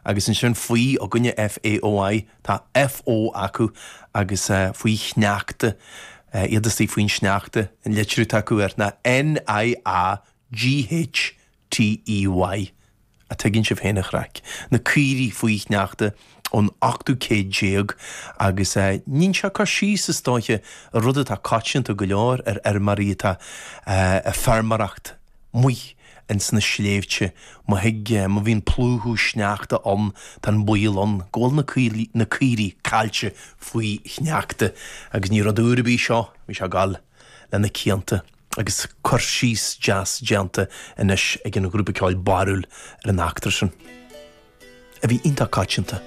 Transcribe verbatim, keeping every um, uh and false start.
Agus ansin faoi againne F A O I, tá F O acu agus uh, faoi shneachta, uh, iad istigh faoin sneachta, an litriú atá acu air ná N I A G H T E Y. A tuigeann sibh féin an chraic. Na caoirigh faoi shneachta ón ochtú céad déag agus uh, níonn sé cur síos, is dóiche, ar rud atá coitianta go leor ar fheirmeoirí atá uh, ag feirmeoireacht amuigh ins na sléibhte, má thig má bhíonn plúchadh sneachta ann, tá an baol ann go bhfuil na caoirigh na caoirigh caillte faoi shneachta agus ní rud úr ar bith seo, bhí sé ag gabháil le na cianta agus cur síos deas déanta anois ag an ghrúpa ceoil Barúil ar an eachtra sin, a bhí iontach coitianta.